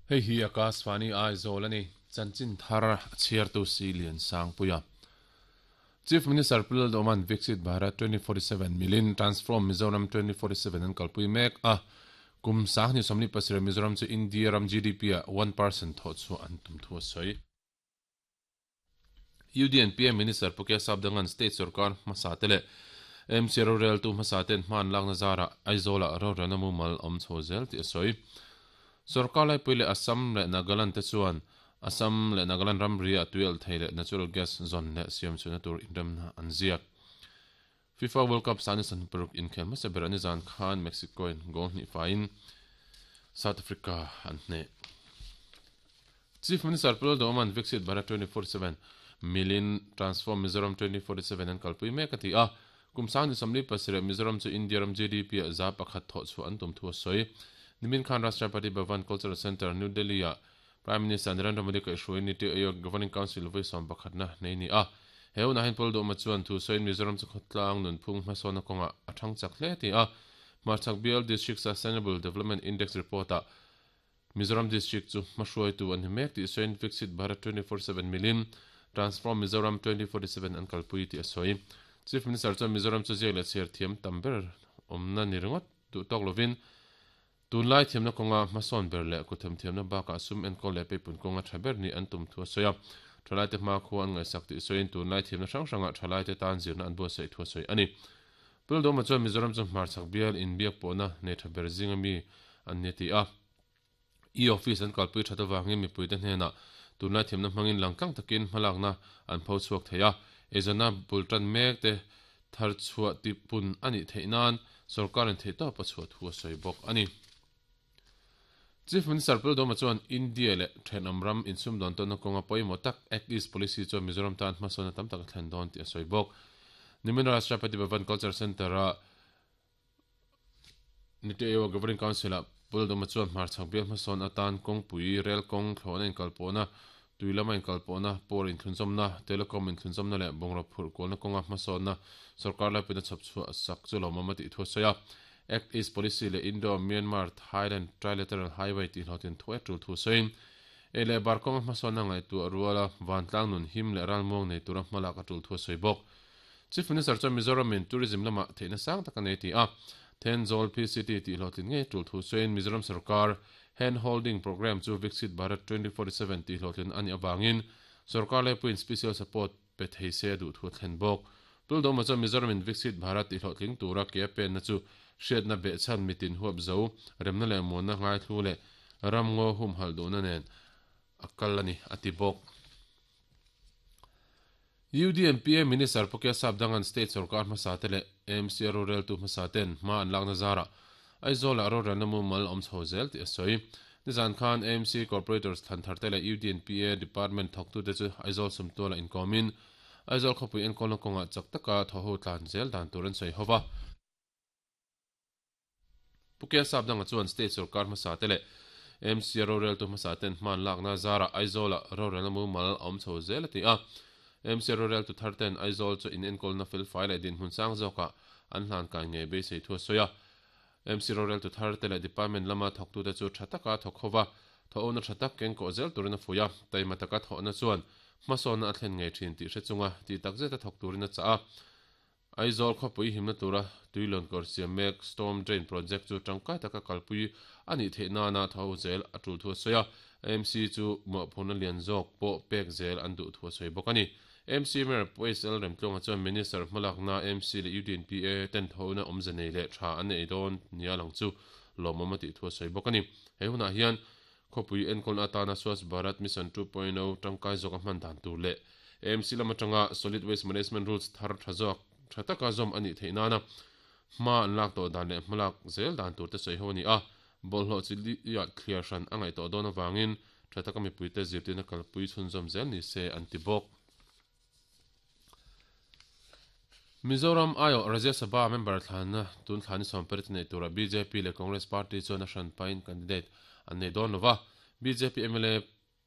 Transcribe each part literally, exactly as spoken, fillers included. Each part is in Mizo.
Hei hi Akashvani Aizawl ani chanchin thar chhiar tu si lian sang puia. Chief Minister Pu Lalduhoma'n Viksit Bharat twenty forty seven milin Transform Mizoram twenty forty seven an kalpui mek a, kum sanghnih sawmli pasarih Mizoram chu India ram G D P ah one percent thawh chhuah an tum thu a sawi. U D N P A Minister Pu K Sapdangan State Sorkar hmasa te leh M C roreltu hmasa ten hma an lakna zarah Aizawlah rorelna mumal awm chho zel tih a sawi. Sorkar laipui leh Assam leh Nagaland te chuan Assam leh Nagaland ramri ah tuialh thei leh natural gas zawn leh siam chhuahna tur inremna an ziak. FIFA World Cup sani san paruk inkhel hmasa ber ani zan khan Mexico in goal hnih faiin South Africa an hneh. Chief Minister Pu Lalduhoma'n Viksit Bharat twenty forty seven milin Transform Mizoram twenty forty seven an kalpui mek a ti a, kum sangni sawmli pasarih Mizoram chu India ram G D P ah za pakhat thawh chhuah an tum thu a sawi. Nimin khan Rashtrapati Bhavan Cultural Centre, New Delhi ah Prime Minister Narendra Modi kaihhruai Niti Aayog Governing Council vawi sawm pakhatna nei ni a. He hunah hian Pu Lalduhoma chuan thu sawiin Mizoram chu khawtlang nunphung hmasawnna kawngah a thang chak hle ti a. Hmarchhak Bial District Sustainable Development Index report ah Mizoram District chu hmahruaitu an ni mek tih sawiin Viksit Bharat twenty forty seven milin Transform Mizoram twenty forty seven an kalpui tih a sawi. Chief Minister chuan Mizoram chu ziak leh chhiar thiam tam ber awmna ni ringawt duh tawk lovin tunlai thiamna kawnga hmasawn ber leh kuthem thiamna bakah sum enkawl leh peipun kawnga tha ber ni an tum thu a sawi a. Thalaite hma khua an ngaihsak tih sawiin tunlai thiamna hrang hrangah thalaite tan zirna an buatsaih thu a sawi a ni. Pu Lalduhoma chuan Mizoram chu hmarchhak bial inbiak pawhna nei tha ber zinga mi an ni a ti a. E-office an kalpui that avangin mipuite hnenah tunlai thiamna hmangin langtlang takin hmalakna an pho chhuak thei a. Eizawnna bul tan mek te thar chhuah tipun a nih theih nan sorkarin theih tawp a chhuah thu a sawi bawk a ni. Chief Minister Pu Lalduhoma chuan India leh thenawm ram insumdawn tawnna kawnga pawimawh tak Act East Policy chuan Mizoram tan hmasawnna tam tak a thlen dawn tih a sawi bawk. Nimin Rashtrapati Bhavan Culture Centre-a Niti Aayog Governing Council ah Pu Lalduhoma chuan hmarchhak bial hmasawn atan kawngpui, rel kawng, thlawhna inkalpawhna, tui lama inkalpawhna, power inthlunzawmna, telecom inthlunzawmna leh bungraw phurh kualna kawnga hmasawnna sorkar laipuina chhawp chhuah sak chu lawmawm a tih thu a sawi a. Act East Policy leh Indo-Myanmar Thailand Trilateral Highway tih hlawhtlin thuai tul thu sawiin ei leh bar kawnga hmasawnna ngaihtuah ruala vantlang nun him leh ralmuang nei tura hmalak a tul thu a sawi bawk. Chief Minister chuan Mizoramin tourism lamah theihna sang tak a nei ti a, Thenzawl P C T tih hlawhtlin ngei tul thu sawiin Mizoram sarkar Hand Holding Programme chu Viksit Bharat twenty forty seven tih hlawhtlin a nih avangin sarkar laipuiin special support pe thei se a duh thu a thlen bawk. Pu Lalduhoma chuan Mizoramin Viksit Bharat tih hlawhtling tura ke a penna chu hriatna behchhan mitin huap zo, remna leh muanna ngaithlu leh ramngaw humhalh duhna nen a kal a ni, a ti bawk. U D N P A Minister Pu K Sapdangan State Sarkar hmasa te leh A M C roreltu hmasa ten hma an lakna zarah Aizawlah rorelna mumal awm chho zel tih a sawi. Nizan khan A M C Corporators thlan thar te leh U D N P A Department thawktute chu Aizawl sumtualah inkawmin Aizawl khawpui enkawlna kawngah chak taka thawho tlan zel dan tur an sawi hova. Pu K Sapdanga chuan State Sarkar hmasa te leh A M C roreltu hmasa ten hma an lakna zarah Aizawlah rorelna mumal awm chho zel a ti a. A M C roreltu thar ten Aizawl chu inenkawlna felfai leh dinhmun sang zawkah an hlan kai ngei beisei thu a sawi a. A M C roreltu thar te leh department lama thawktute chu tha taka thawk hova, thawhna tha tak kengkawh zel turin a fuih a. Taima taka thawhna chuan hmasawnna a thlen ngei thin tih hre chunga tih takzet a thawk turin a chah a. Aizawl khawpui himna tura tuilawn kawr siam mek Storm Drain Project chu tangkai taka kalpui a nih theih nana tho zel a tul thu a sawi a. A M C chu mawhphurhna lian zawk pawh pek zel an duh thu a sawi bawk a ni. A M C Mayor Pu S L Remtluanga chuan Minister hmalakna A M C leh U D N P A ten thona awmze nei leh tha an nei dawn nia lang chu lawmawm a tih thu a sawi bawk a ni. He hunah hian khawpui enkawlna atana Swachh Bharat Mission two point oh tangkai zawk a hman dan tur leh A M C lam atanga Solid Waste Management Rules thar tha zawk tha taka zawm a nih theih nana hma an lak tawh dan leh hmalak zel dan tur te sawi ho a ni a. Bawlhhlawh chi liah thliar hran a ngaih tawh dawn avangin tha taka mipuite zirtirna kalpui chhunzawm zel ni se an ti bawk. Mizoram Aio Rajya Sabha member thlanna tun thlani sawm pariat nei tura B J P leh Congress Party chuan a hran pain candidate an nei dawn lova. B J P M L A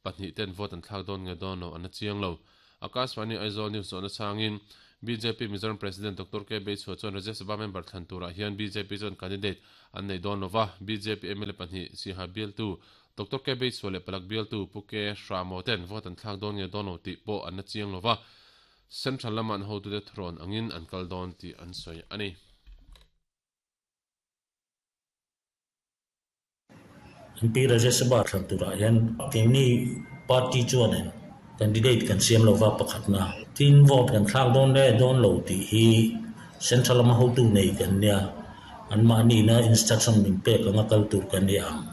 pahnih ten vote an thlak dawn nge dawn lo an la chiang lo. Akashvani Aizawl News zawhna changin B J P Mizoram President Doctor K Beichhua chuan Rajya Sabha member thlan turah hian B J P chuan candidate an nei dawn lova B J P M L A pahnih Siaha bialtu Doctor K Beichhua leh Palak bialtu Pu K Hramo ten vote an thlak dawn nge dawn lo tih pawh an na chiang lova Central lama an hotute thrawn angin an kal dawn tih an sawi ani. M P Rajya Sabha thlan turah hian keini party chuanin candidate kan siam lova pakhatna tin vote kan thlak dawn le dawn lo tih hi central lama hotu nei kan nia an mahni na instruction min pek anga kal tur kan ni ang.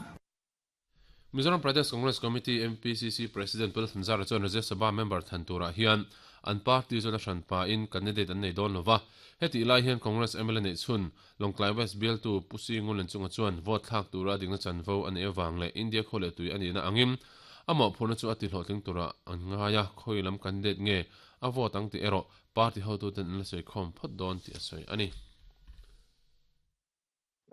Mizoram Pradesh Congress Committee M P C C President Pul Thanzara chuan Rajya Sabha member thlan turah hian an party chuan a hran pa in candidate an nei dawn lova heti lai hian Congress M L A nei chhun Lawngtlai West bialtu Pusi Ngulen chunga chuan vote thlak tura dingna chanvo an ewang le India khawle tui ani na angin ama phurna chu ati hlawhtling tura an ngaia khoilam candidate nge a vote ang ti ero party hotu ten an la sei khom phawt dawn ti a sawi ani.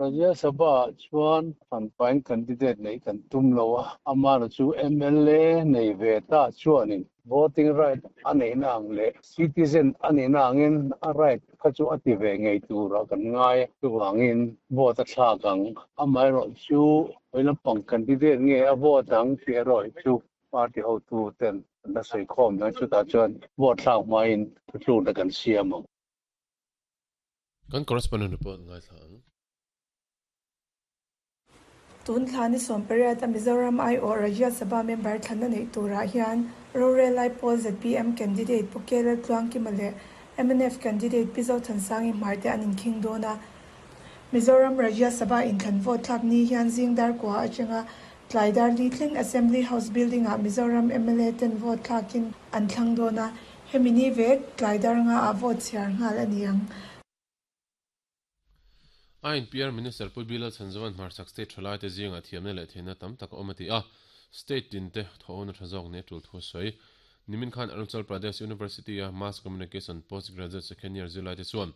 Rajya Sabha chuan fan candidate nei kan tum lowa amar chu M L A nei ve ta chuanin voting right anei nang le citizen anei nangin a right kha chu ati ve ngei tura kan ngai chuwangin vote a thlakang amai ro chu oilam candidate nge a vote ang ti roi chu party hotu ten na sei khom na chu ta chuan vote thlak main thu na kan siam. Kan correspondent report ngai thlang. Tun thlani som pariat a Mizoram I O Rajya Sabha member thlana nei turah hian Rorel Lai Pawl Z P M candidate Pukela Tluangkima leh M N F candidate Pizo Thansangi Hmarte an inkhing dawn a. Mizoram Rajya Sabha inthlan vote thlak ni hian zingdar kwa atanga tlaidar li thleng Assembly House building ah Mizoram M L A ten vote thlakin an thlang dawn a. Hemi ni vek tlaidar nga a vote chhiar nghal ani ang. I N P R Minister Pu Bilal Chanzawan Hmarchhak State thalai te zinga thiamna leh theihna tam tak a awm ati a state tin te thawhna tha zawk ne tul thu sawi nimin khan Arunachal Pradesh University a Mass Communication Postgraduate Second Year zirlai te chuan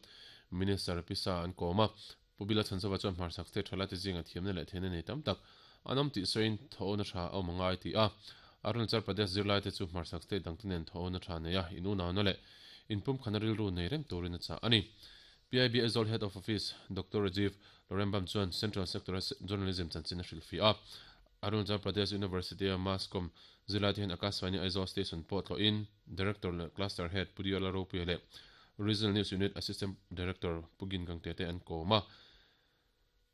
Minister Pisa an kawma Pu Bilal Chanzawa chuan Hmarchhak State thalai te zinga thiamna leh theihna nei tam tak an awm tih sawiin thawhna tha a awm angai ti a Arunachal Pradesh zirlai te chu Hmarchhak State dang te nen thawhna tha nei a inunau na leh inpum khana rilru nei reng turin a chah ani. P I B Aizawl Head of Office Doctor Rajiv Lorembam chuan Central Sector Journalism chanchin a hrilh fi a Arunachal Pradesh University a Mass Com zilai te hian Akashvani Aizawl Station pawh tlawhin Director leh Cluster Head Pudiola Ropuia leh Regional News Unit Assistant Director Pugin Gangte te an kawm a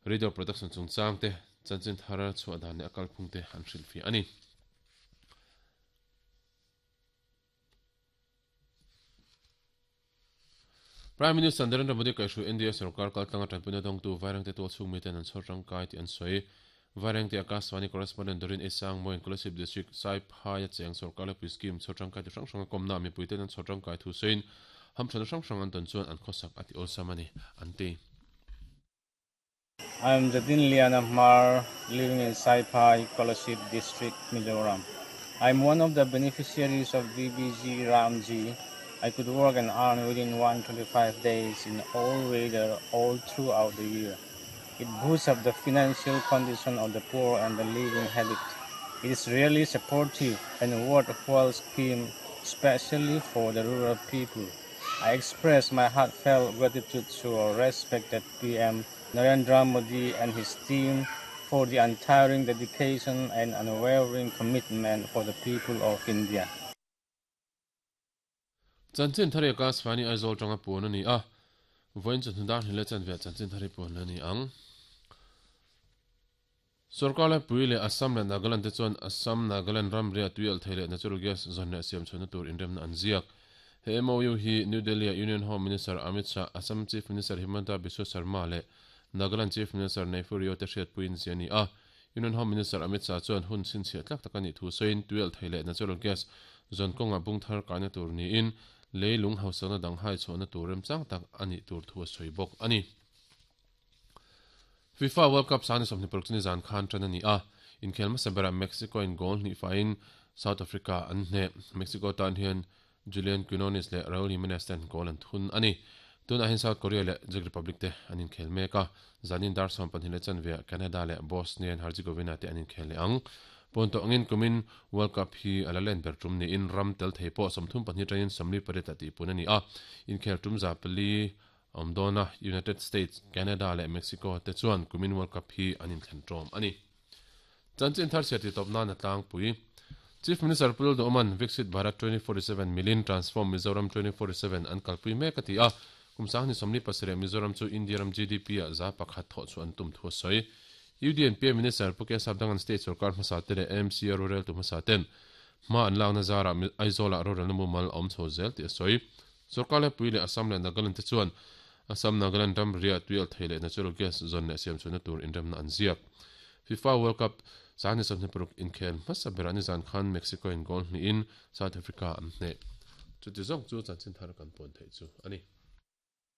Radio Production chungchang te chanchin thara chhuah dan leh a kalphung te an hrilh fi ani. Prime Minister Narendra Modi kaihhruai N D A sarkar kaltlanga tanpuina dawngtu Vairengte tual chhung miten an chhawr tangkai tih an sawi. Vairengte Akashvani correspondent Dorin Esang Moin Kolasib District Saiphai a cheng sarkar lepui scheme chhawr tangkai ti hrang hrang a kawmna mipuiten an chhawr tangkai thu sawiin hamthana hrang hrang an tawn chuan an khawsak ati awlsam ani an ti. I am Jatin Liana Hmar, living in Saiphai, Kolasib District, Mizoram. I am one of the beneficiaries of V B G Ramji. I could work and earn within one hundred twenty-five days in all weather all throughout the year. It boosts up the financial condition of the poor and the living habit. It is really supportive and worthwhile scheme, especially for the rural people. I express my heartfelt gratitude to our respected P M Narendra Modi and his team for the untiring dedication and unwavering commitment for the people of India. Chanchin thari Akashvani Aizawl tanga puan ani a voin chu hnudar hnile chan ve chanchin thari puan ani ang sarkar lai pui leh Assam leh Nagaland te chuan Assam Nagaland ram ria tuial thei leh natural gas zawn leh siam chhuahna tur inremna an ziak. He M O U hi New Delhi a Union Home Minister Amit Shah, Assam Chief Minister Himanta Biswa Sarma leh Nagaland Chief Minister Neiphiu Rio te hriat puiin zia ani a. Union Home Minister Amit Shah chuan hun chhinchhiah tlak tak ani thu sawiin tuial thei leh natural gas zawn kawnga bung thar kaina tur niin leilung hausakna dang hai chhuahna tur remchang tak ani tur thu a sawi bawk ani. FIFA World Cup sani sawmhnih paruk chuni zan khan tan ani a inkhel hmasa berah Mexico in goal hnih fain South Africa an hne. Mexico tan hian Julian Quinones leh Raul Jimenez ten goal an thun ani. Tun ahin South Korea leh Czech Republic te an inkhel mek a zanin dar sawm pahnih leh chanve Canada leh Bosnia and Herzegovina te an inkhel leh ang. Pon to angin kumin World Cup hi ala len ber tum ni in ram tel thei pawh sawmthum pahnih atangin sawmli pariat a tih pun a ni a. Inkhel tum za pali awm dawn a, United States, Canada leh Mexico te chuan kumin World Cup hi an inthlen tawm a ni. Chanchin thar chhiat ti tawp nan a tlangpui. Chief Minister Pu Lalduhawman Viksit Bharat twenty forty seven milin Transform Mizoram twenty forty seven an kalpui mek a ti a, kum sanghnih sawmli pasarih Mizoram chu India ram G D P ah za pakhat thawh chu an tum thu a sawi. U D N P A Minister Pu K Sapdangan State Sorkar hmasa te leh M C rorel tu hmasa ten hma an lakna zarah Aizawlah rorelna mumal a awm chho zel tih a sawi. Sorkar lepui leh Assam leh Nagaland te chuan Assam Nagaland ram riah tuial thei leh natural gas zawn leh siam chhuahna tur inremna an ziak. FIFA World Cup sanghnih sawmhnih paruk inkhel hmasa berah nizan khan Mexico in goal hnihin South Africa an hneh. Chuti zawng chu chanchin thar kan pawn theih chu a ni.